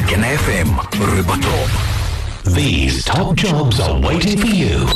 Gukena FM, Rwimbo Top. These top jobs are waiting for you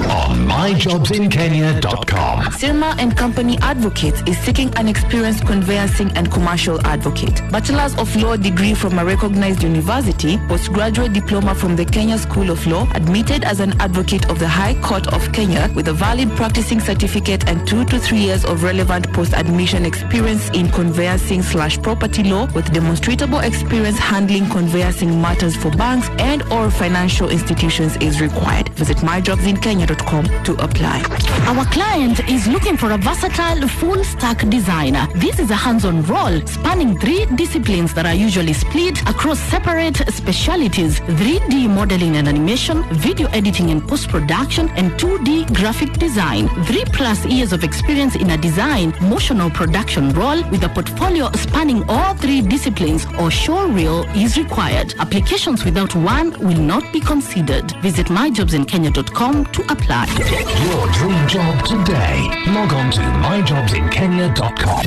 on myjobsinkenya.com. Sirma and Company Advocates is seeking an experienced conveyancing and commercial advocate. Bachelor's of Law degree from a recognized university, postgraduate diploma from the Kenya School of Law, admitted as an advocate of the High Court of Kenya with a valid practicing certificate and 2 to 3 years of relevant post-admission experience in conveyancing/property law with demonstrable experience handling conveyancing matters for banks and or financial institutions is required. Visit myjobsinkenya.com to apply. Our client is looking for a versatile full stack designer. This is a hands-on role spanning three disciplines that are usually split across separate specialities: 3D modeling and animation, video editing and post-production, and 2D graphic design. 3+ years of experience in a design, motion or production role with a portfolio spanning all three disciplines or showreel is required. Applications without one will not be considered. Visit myjobsinkenya.com to apply. Get your dream job today. Log on to myjobsinkenya.com.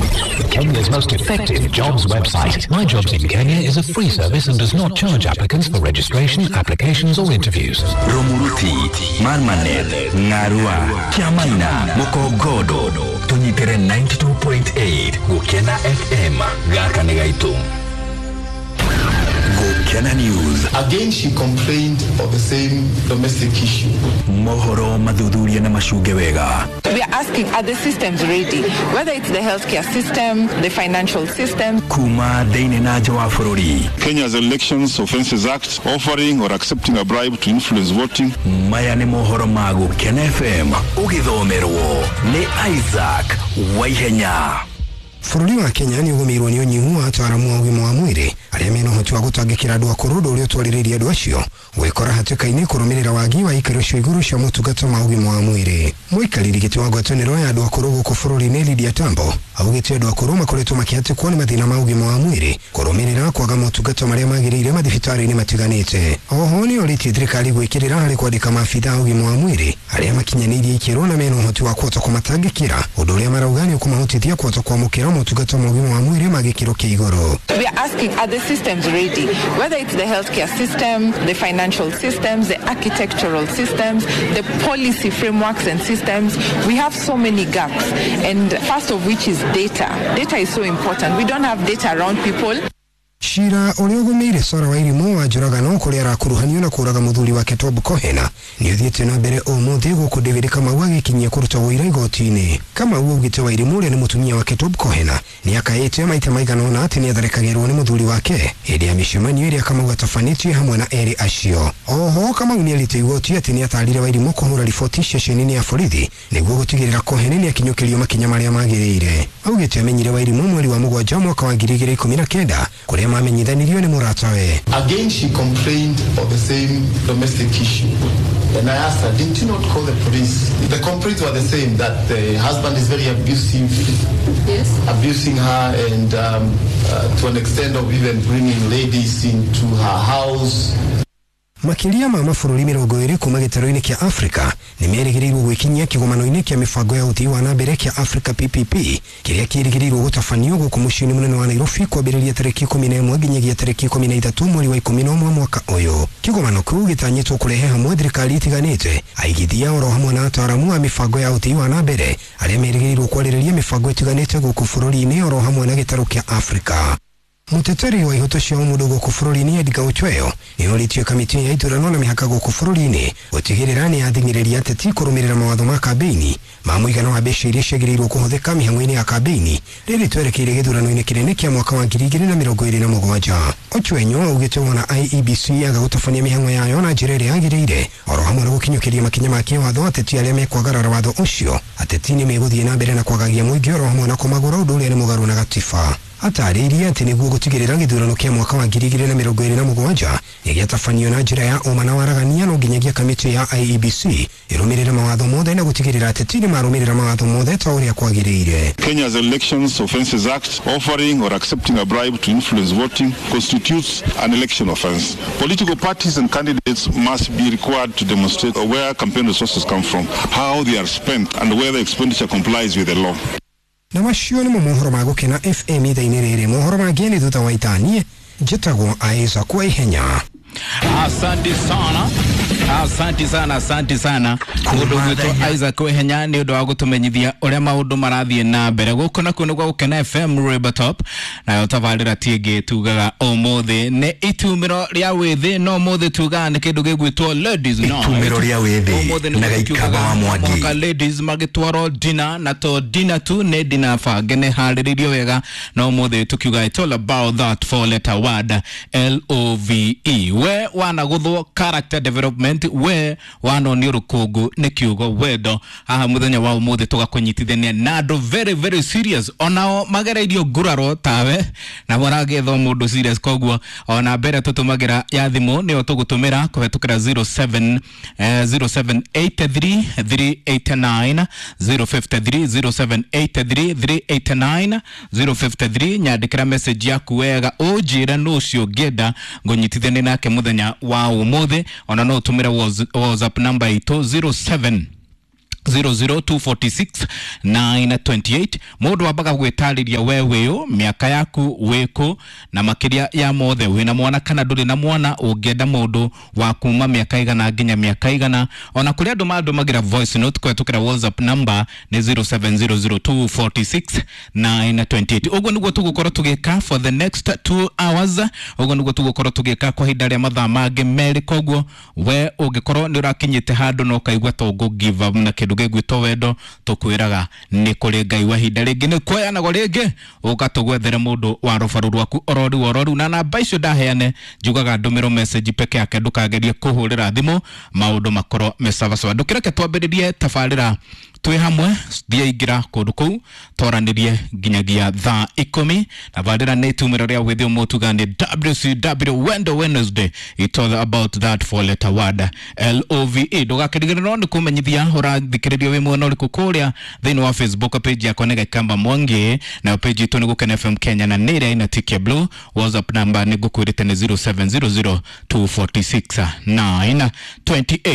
Kenya's most effective jobs website. My Jobs in Kenya is a free service and does not charge applicants for registration, applications, or interviews. Rumuruti, Marmanet, Ng'arua, Kiamaina, Mukogodo. Tũnyitĩre 92.8 Gũkena FM. Gaka nĩ gaitũ. Gũkena News. Again, she complained of the same domestic issue. Mohoro mathuthurie na macunge wega. We are asking, are the systems ready? Whether it's the healthcare system, the financial system. Kuma thĩinĩ na nja wa bũrũri. Kenya's Elections Offences Act, offering or accepting a bribe to influence voting. Maya nĩ mohoro ma Gũkena FM ũgĩthomerwo nĩ Isaac Waihenya. Bũrũri wa Kenya nĩ ũgũmĩirwo nĩ ũnyihu wa ataaramu a ũgima wa mwĩrĩ arĩa mena ũhoti wa gũtangĩkĩra andũ akũrũ, ũndũ ũrĩa ũtwarĩrĩirie andũ acio gwĩkora hatĩka-inĩ kũrũmĩrĩra wagi wa ikĩro cia igũrũ cia motungata ma ũgima wa mwĩrĩ. Mũikarĩri gĩtĩ wa ngwatanĩro ya andũ akũrũ gũkũ bũrũri-inĩ Lydia Tambo augĩte andũ akũrũ makoretwo makĩhatĩkwo nĩ mathĩna ma ũgima wa mwĩrĩ kũrũmĩrĩra kwaga motungata marĩa magĩrĩire mathibitarĩ-inĩ matiganĩte. Oho nĩ orĩtie thirikari gwĩkĩrĩra harĩ kwandĩka maabitha a ũgima wa mwĩrĩ arĩa makinyanĩirie ikĩro na mena ũhoti wa kũhota kũmatangĩkĩra, ũndũ ũrĩa marauga nĩ ũkũmahotithia kũhota kwamũkĩra motungata ma ũgima wa mwĩrĩ ma gĩkĩro kĩa igũrũ. We are asking, are the systems ready? Whether it's the healthcare system, the financial systems, the architectural systems, the policy frameworks and systems, we have so many gaps. And first of which is data. Data is so important. We don't have data around people. Cira ũrĩa ũgũmĩire Sarah Wairimu wa njũragano kũrĩa arakuruhanio na kũraga mũthuri wake Tob Cohen nĩ ũthiĩte na mbere ũmũthĩ gũkũ David Kamau agĩkinyia kũruta ũira igoti-inĩ. Kamau augĩte Wairimu ũrĩa nĩ mũtumia wake Tob Cohen nĩ akaĩte maita maigana ũna atĩ nĩ atharĩkagĩrwo nĩ mũthuri wake hĩndĩ ya mĩcemanio ĩrĩa Kamau atabanĩtie hamwe na erĩ acio. Oho Kamau nĩ erĩte igoti atĩ nĩ atarire Wairimu kũhũra riboti ceceni-inĩ ya borithi nĩguo gũtigĩrĩra Cohen nĩ akinyũkĩrio makinya marĩa magĩrĩire. Augĩte amenyire Wairimu mweri wa mũgwanja mwaka wa 2019 kũrĩa mamenyithanirio nĩ mũratawe. Again, she complained of the same domestic issue. And I asked her, didn't you not call the police? The complaints were the same, that the husband is very abusive, yes, abusing her, and to an extent of even bringing ladies into her house. Makĩria ma mabũrũri 20 kuma gĩtarũ-inĩ kĩa Afrika nĩ merĩgĩrĩirwo gwĩkinyia kĩgomano-inĩ kĩa mĩbango ya ũthii wa na mbere kĩa Africa PPP kĩrĩa kĩrĩgĩrĩirwo gũtabanio gũkũ mũciĩ-inĩ mũnene wa Nairobi kwambĩrĩria tarĩki 11 nginyagia tarĩki 13 mweri wa 11 mwaka ũyũ. Kĩgomano kĩu gĩtanyĩtwo kũrehe hamwe thirikari itiganĩte, aigithia oro hamwe na ataaramu a mĩbango ya ũthii wa na mbere arĩa merĩgĩrĩirwo kwarĩrĩria mĩbango ĩtiganĩte gũkũ bũrũri-inĩ oro hamwe na gĩtarũ kĩa Afrika. Mũteteri wa ihoto cia ũmũndũ gũkũ bũrũri-inĩ Edgar Ochweyo nĩ orĩtie kamĩtĩ ya ithurano na mĩhaka gũkũ bũrũri-inĩ gũtigĩrĩra nĩ yathing'ĩrĩria ateti kũrũmĩrĩra mawatho ma kambĩini ma mũigana wa mbeca iria ciagĩrĩirwo kũhũthĩka mĩhang'o-inĩ ya kambĩini rĩrĩ twerekeire gĩthurano-inĩ kĩnene kĩa mwaka wa 2027. Ochwenyo augĩte wona IEBC yaga gũtabania mĩhang'o yayo na njĩra ĩrĩa yagĩrĩire oro hamwe na gũkinyũkĩria makinya ma kĩwatho ateti arĩa mekwagarara watho ũcio ateti nĩ megũthiĩ na mbere na kwagagia mũingĩ oro hamwe na kũmagũra ũndũ ũrĩa nĩ mũgarũ na gatiba. Atarĩirie atĩ nĩguo gũtigĩrĩra gĩthurano kĩa mwaka wa 2027 nĩ gĩatabanio na njĩra ya ũma na waragania no nginyagia kamĩtĩ ya IEBC ĩrũmĩrĩre mawatho mothe na gũtigĩrĩra ateti nĩ marũmĩrĩra mawatho mothe ta ũrĩa kwagĩrĩire. Kenya's Elections Offences Act, offering or accepting a bribe to influence voting constitutes an election offense. Political parties and candidates must be required to demonstrate where campaign resources come from, how they are spent, and whether expenditure complies with the law. Na macio nĩmo mohoro ma Gũkena FM ithaa-inĩ rĩrĩ. Mohoro mangĩ nĩ thutha wa ithaa. Niĩ Njĩtagwo Isaac Waihenya. Asante sana, asante sana, asante sana mundu gwitwo Isaac Wehenya ni undu wa gutumenyithia uria maundu marathie na mbere guku nakuo nĩ gwa Gukena FM Rwimbo Top, nayo tabarĩra ti ĩngĩ tugaga ũmũthĩ nĩ itumĩro rĩa wĩthĩ, no ũmũthĩ tugaga nĩ kĩndũ gĩgwĩtwo ladies night. Itumĩro rĩa wĩthĩ Ũmũthĩ nĩguo na Gĩikamba wa Mwangi. Mũhaka ladies magĩtwarwo dinner, na to dinner tu nĩ dinner bange nĩ harĩrĩirio wega, no ũmũthĩ tukiuga it's all about that four letter word LOVE. We wanaguthwo character development, we wanonio rũkũngũ nĩ kiugo wendo. Haha mũthenya wa ũmũthĩ tũgakũnyitithania na andũ very very serious, onao magereirio nguraro tawe na maragethwo mũndũ serious. Koguo ona mbere tũtũmagĩra ya thimũ nĩyo tũgũtũmĩra kũhetũkĩra 07 0783 389 053, 0783 389 053. Nyandĩkĩra message yaku wega ũnjĩre nũ ũcio ũngĩenda ngũnyitithanie nake mũthenya wa ũmũthĩ. Ona no ũtũmĩre WhatsApp namba itũ 07 00246 928. Mundu wambaga gwĩtarĩria we wĩũ, mĩaka yaku, wĩkũ, na makĩria ya mothe wĩna mwana kana ndũrĩ na mwana, ũngĩenda mũndũ wa kuma mĩaka igana nginya mĩaka igana. Ona kũrĩ andũ mandũmagĩra voice note kũhetũkĩra WhatsApp number nĩ 0700246928. Ũguo nĩguo tũgũkorwo tũgĩka for the next 2 hours, ũguo nĩguo tũgũkorwo tũgĩka kwa ihinda rĩa mathaa mangĩ merĩ. Koguo we ũngĩkorwo nĩ ũrakinyĩte handũ na ũkaigua ta ũngũ give up na kĩndũ gĩgwĩtwo wendo, tũkwĩraga nĩ kũrĩ Ngai wa ihinda rĩngĩ nĩ kuoyanagwo rĩngĩ ũgatũgwethere mũndũ wa rũbaru rwaku ororiu ororiu. Na namba icio ndaheane njugaga ndũmĩrwo message peke yake, ndũkagerie kũhũrĩra thimũ, maũndũ makorwo me sawasawa. Ndũkĩreke twambĩrĩrie tabarĩra twĩ hamwe, thiĩ ingĩra kũndũ kũu twaranĩrie nginyagia thaa 10. Tabarĩra nĩ itumĩro rĩa wĩthĩ ũmũtuga nĩ WCW Wendo Wednesday, it's all about that four letter word LOVE. Ndũgakĩriganĩrwo nĩ kũmenyithia ũrathikĩrĩria wĩ mwena ũrĩkũ kũrĩa thĩinĩ wa Facebook page yakwa nĩ Gĩkamba Mwangi, nayo page itũ nĩ Gukena FM Kenya na nĩ ĩrĩa ĩna tick ya blue. WhatsApp number nĩ ngũkwĩrĩte nĩ 0700 246 928.